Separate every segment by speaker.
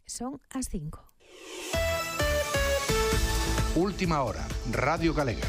Speaker 1: Son as 5.
Speaker 2: Última hora, Radio Galega.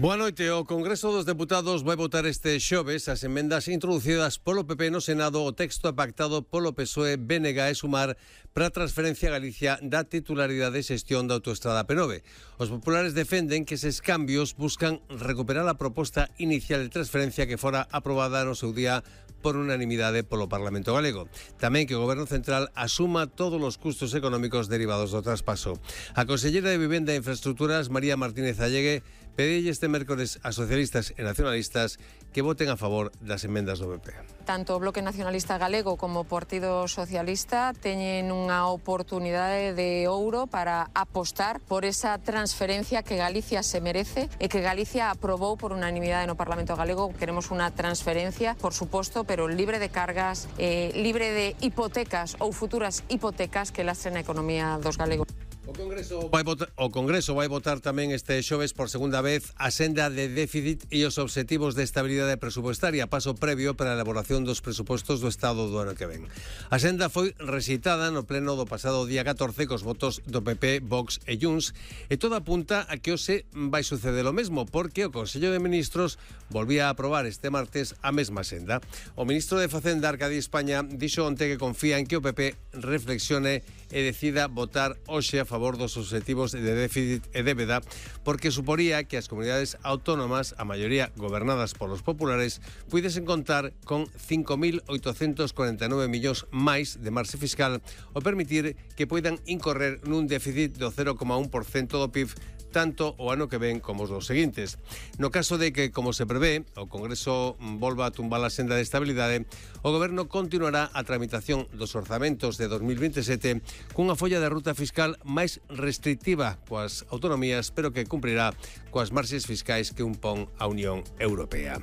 Speaker 3: Boa noite. O Congreso dos Deputados vai votar este xoves as emendas introducidas polo PP no Senado o texto pactado polo PSOE, BNG e Sumar para a transferencia a Galicia da titularidade e xestión da autoestrada P9. Os populares defenden que eses cambios buscan recuperar a proposta inicial de transferencia que fora aprobada no seu día por unanimidade polo Parlamento Galego. Tamén que o Goberno Central asuma todos os custos económicos derivados do traspaso. A consellera de Vivenda e Infraestructuras, María Martínez Allegue, pedille este mércores a socialistas e nacionalistas que voten a favor das emendas do PP.
Speaker 4: Tanto o Bloque Nacionalista Galego como o Partido Socialista teñen unha oportunidade de ouro para apostar por esa transferencia que Galicia se merece e que Galicia aprobou por unanimidade no Parlamento Galego. Queremos unha transferencia, por suposto, pero libre de cargas, libre de hipotecas ou futuras hipotecas que lastren a economía dos galegos.
Speaker 3: O Congreso vai votar tamén este xoves por segunda vez a senda de déficit e os obxectivos de estabilidade presupuestaria, paso previo para a elaboración dos presupostos do Estado do ano que ven. A senda foi recitada no pleno do pasado día 14 cos votos do PP, Vox e Junts, e todo apunta a que hoxe vai suceder o mesmo, porque o Consello de Ministros volvía a aprobar este martes a mesma senda. O ministro de Facenda, Arcadi España, dixo onte que confía en que o PP reflexione e decida votar hoxe a favor dos obxectivos de déficit e débeda, porque suporía que as comunidades autónomas, a maioría gobernadas polos populares, puidesen contar con 5.849 millóns máis de marxe fiscal ou permitir que poidan incorrer nun déficit do 0,1% do PIB tanto o ano que ven como os dos seguintes. No caso de que, como se prevé, o Congreso volva a tumbar a senda de estabilidade, o Goberno continuará a tramitación dos orzamentos de 2027 cunha folla de ruta fiscal máis restrictiva coas autonomías, pero que cumprirá coas marxes fiscais que impón a Unión Europea.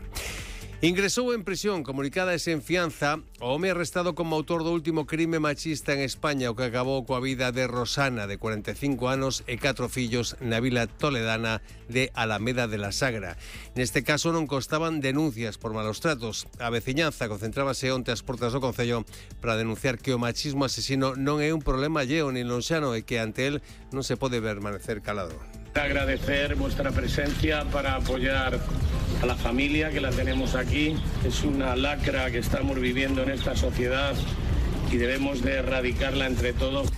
Speaker 3: Ingresou en prisión comunicada e sen fianza o home arrestado como autor do último crime machista en España, o que acabou coa vida de Rosana, de 45 anos e 4 fillos na vila toledana de Alameda de la Sagra. Neste caso non constaban denuncias por malos tratos. A veciñanza concentrábase onte ás portas do Concello para denunciar que o machismo asesino non é un problema lleo nin lonxano e que ante el non se pode permanecer calado.
Speaker 5: Agradecer vuestra presencia para apoyar a la familia que la tenemos aquí. Es una lacra que estamos viviendo en esta sociedad y debemos de erradicarla entre todos.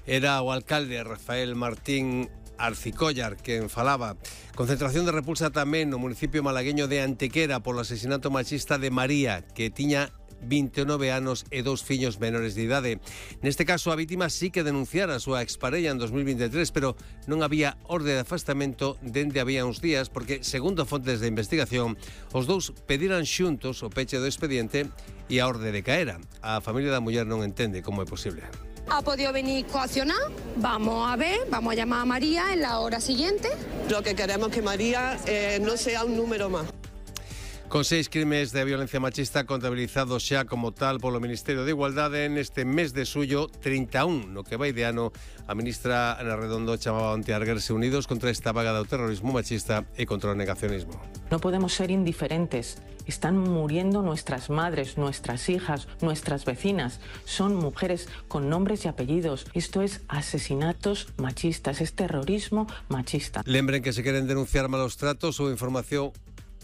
Speaker 3: Era o alcalde Rafael Martín Arcicollar quen falaba. Concentración de repulsa tamén no municipio malagueño de Antequera polo asesinato machista de María, que tiña 29 anos e 2 fillos menores de idade. Neste caso, a vítima sí que denunciara a súa exparella en 2023, pero non había orde de afastamento dende había uns días, porque, segundo fontes de investigación, os dous pediran xuntos o peche do expediente e a orde de caera. A familia da muller non entende como é posible.
Speaker 6: ¿Ha podido venir coaccionar? Vamos a ver, vamos a llamar a María en la hora siguiente.
Speaker 7: Lo que queremos es que María no sea un número más.
Speaker 3: Con 6 crimes de violencia machista contabilizados xa como tal polo Ministerio de Igualdade neste mes de suyo, 31 no que vai de ano. A ministra Ana Redondo chamaba onte a erguerse unidos contra esta vaga do terrorismo machista e contra o negacionismo.
Speaker 8: No podemos ser indiferentes. Están muriendo nuestras madres, nuestras hijas, nuestras vecinas. Son mujeres con nombres y apellidos. Esto es asesinatos machistas, es terrorismo machista.
Speaker 3: Lembren que se queren denunciar malos tratos ou información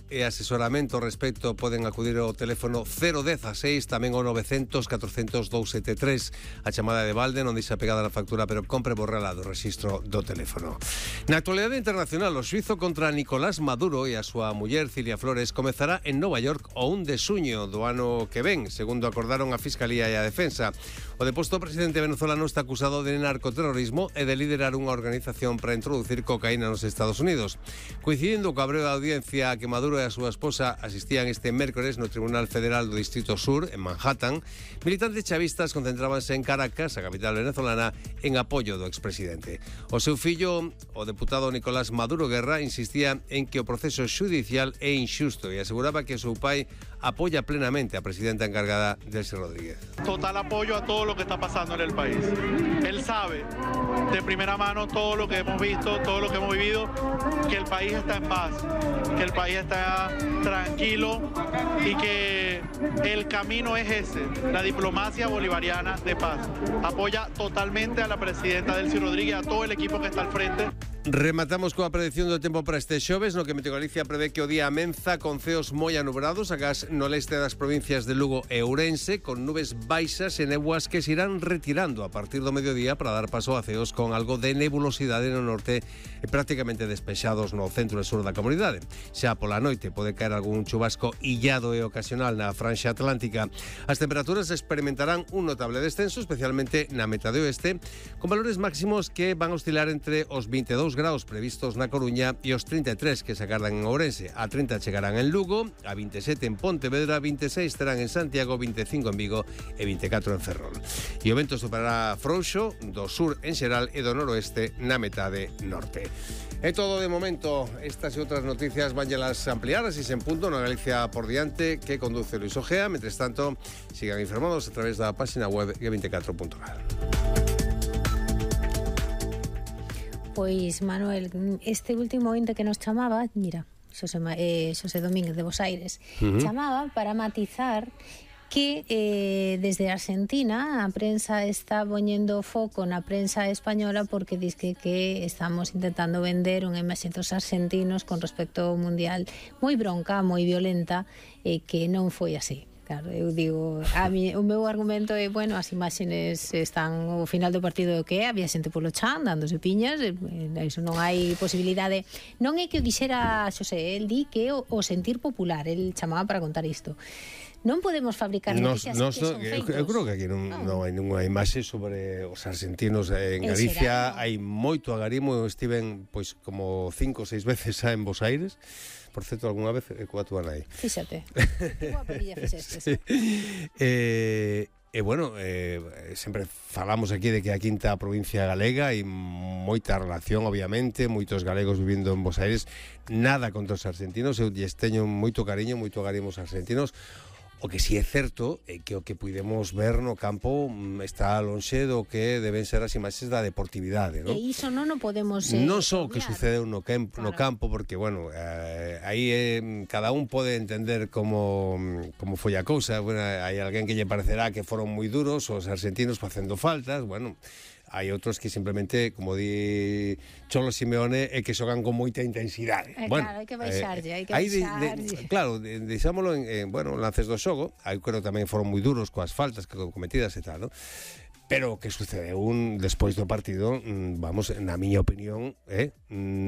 Speaker 3: e asesoramento ao respecto poden acudir ao teléfono 016, tamén ao 900 400 273. A chamada de balde non deixa pegada na factura, pero compre borrala do rexistro do teléfono. Na actualidade internacional, o xuizo contra Nicolás Maduro e a súa muller Cilia Flores comezará en Nova York o 1 de xuño do ano que ven, segundo acordaron a Fiscalía e a Defensa. O deposto presidente venezolano está acusado de narcoterrorismo e de liderar unha organización para introducir cocaína nos Estados Unidos. Coincidindo co abreo da audiencia a que Maduro e a súa esposa asistían este mércores no Tribunal Federal do Distrito Sur, en Manhattan, militantes chavistas concentrábanse en Caracas, a capital venezolana, en apoio do expresidente. O seu fillo, o deputado Nicolás Maduro Guerra, insistía en que o proceso xudicial é inxusto e aseguraba que o seu pai apoya plenamente a presidenta encargada Delcy Rodríguez.
Speaker 1: Total apoyo a todo lo que está pasando en el país. Él sabe de primera mano todo lo que hemos visto, todo lo que hemos vivido, que el país está en paz, que el país está tranquilo y que el camino es ese, la diplomacia bolivariana de paz. Apoya totalmente a la presidenta Delcy Rodríguez, a todo el equipo que está al frente.
Speaker 3: Rematamos coa predicción do tempo para este xoves, no que Meteo Galicia prevé que o día amenza con ceos moi anubrados, agás no leste das provincias de Lugo e Ourense, con nubes baixas e néboas que se irán retirando a partir do mediodía para dar paso a ceos con algo de nebulosidade no norte e prácticamente despexados no centro e sur da comunidade. Xa pola noite pode caer algún chubasco illado e ocasional na franxa atlántica. As temperaturas experimentarán un notable descenso, especialmente na metade oeste, con valores máximos que van a oscilar entre os 22 graus previstos na Coruña e os 33 que se agardan en Ourense. A 30 chegarán en Lugo, a 27 en Pontevedra, 26 terán en Santiago, 25 en Vigo e 24 en Ferrol. E o vento superará frouxo do sur en xeral e do noroeste na metade norte. É todo de momento. Estas e outras noticias vanllelas ampliar así en punto na Galicia por diante que conduce Luis Ojea. Mentres tanto, sigan informados a través da página web g24.gal.
Speaker 9: Pois, Manuel, este último ointe que nos chamaba, mira, Xosé Domínguez de Bos Aires, chamaba para matizar que desde Argentina a prensa está poñendo foco na prensa española porque diz que estamos intentando vender unha imaxe dos argentinos con respecto ao Mundial moi bronca, moi violenta, que non foi así. Claro, eu digo, o meu argumento é, bueno, as imaxes están ao final do partido que había xente polo chan dándose piñas, iso non hai posibilidade. Non é que o dixera Xosé, el di que o sentir popular, el chamaba para contar isto. Non podemos fabricar noticias que son feitos.
Speaker 3: Eu creo que aquí non hai ninguna imaxe sobre os argentinos en Galicia. Hai moito agarimo. Eu estiven pois como 5 ou 6 veces xa en Bos Aires. Por certo, algunha vez coa túa nai.
Speaker 9: Fíxate, que boa perilla fixestes.
Speaker 3: E bueno, sempre falamos aquí de que a quinta provincia galega hai moita relación, obviamente, moitos galegos vivindo en Bos Aires, nada contra os argentinos, eu lles teño moito cariño, moito agarimo aos argentinos. O que si é certo é que o que puidemos ver no campo está lonxe do que deben ser as imaxes da deportividade, non?
Speaker 9: E iso non o podemos
Speaker 3: non só o que sucedeu no campo, porque, bueno, aí cada un pode entender como foi a cousa. Bueno, hai alguén que lle parecerá que foron moi duros os argentinos facendo faltas, bueno. Hai outros que simplemente, como di Cholo Simeone, é que xogan con moita intensidade.
Speaker 9: Claro, hai que baixarlle, hai que baixarlle.
Speaker 3: Claro, deixámolo en lances do xogo. Hai creo tamén foron moi duros coas faltas que cometidas e tal, ¿no? Pero o que sucedeu despois do partido, vamos, na miña opinión,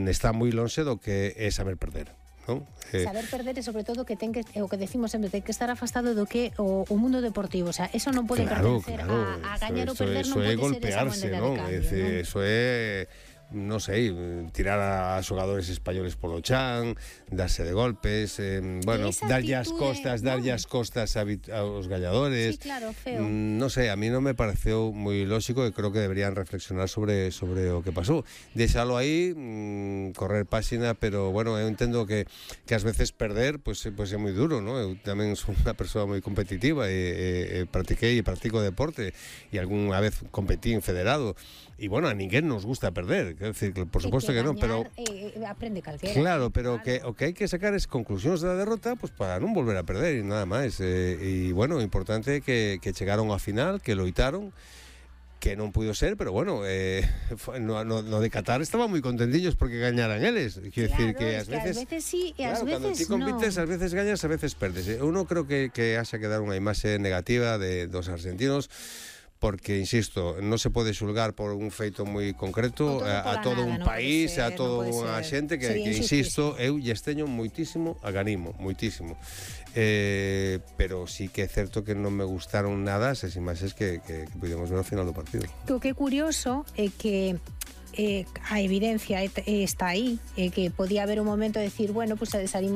Speaker 3: está moi lonxe do que é saber perder. ¿No?
Speaker 9: Saber perder e sobre todo que ten que, o que decimos sempre, ten que estar afastado do que o mundo deportivo, o sea, eso non pode pertencer a gañar ou perder, non pode ser esa moneda de cambio.
Speaker 3: Eso é, non sei, tirar a xogadores españoles polo chan, darse de golpes, bueno, darlle as costas aos gañadores.
Speaker 9: Sí, claro, feo.
Speaker 3: Non sei, a mí non me pareceu moi lóxico e creo que deberían reflexionar sobre o que pasou. Deixalo aí, correr páxina, pero bueno, eu entendo que ás veces perder pois é moi duro, ¿no? Eu tamén son unha persoa moi competitiva e practico deporte e algunha vez competín federado. E bueno, a ninguén nos gusta perder, quero decir, por suposto que non, pero
Speaker 9: aprende calquera.
Speaker 3: Claro, pero o que hai que sacar es conclusións da derrota, pues para non volver a perder e nada máis. E bueno, o importante é que chegaron á final, que loitaron, que non puido ser, pero bueno, no de Qatar estaban moi contentillos porque gañaran eles. Quero decir que ás veces
Speaker 9: sí e ás veces
Speaker 3: non. Cando ti compites, ás veces gañas, ás veces perdes. Eu non creo que haxa que dar unha imaxe negativa dos argentinos, porque, insisto, non se pode xulgar por un feito moi concreto a todo un país, a toda unha xente que insisto, eu lles teño moitísimo agarimo, moitísimo. Pero sí que é certo que non me gustaron nada esas imaxes que pudemos ver ao final do partido.
Speaker 9: O que é curioso é que a evidencia está aí, que podía haber un momento de decir, bueno, pues salimos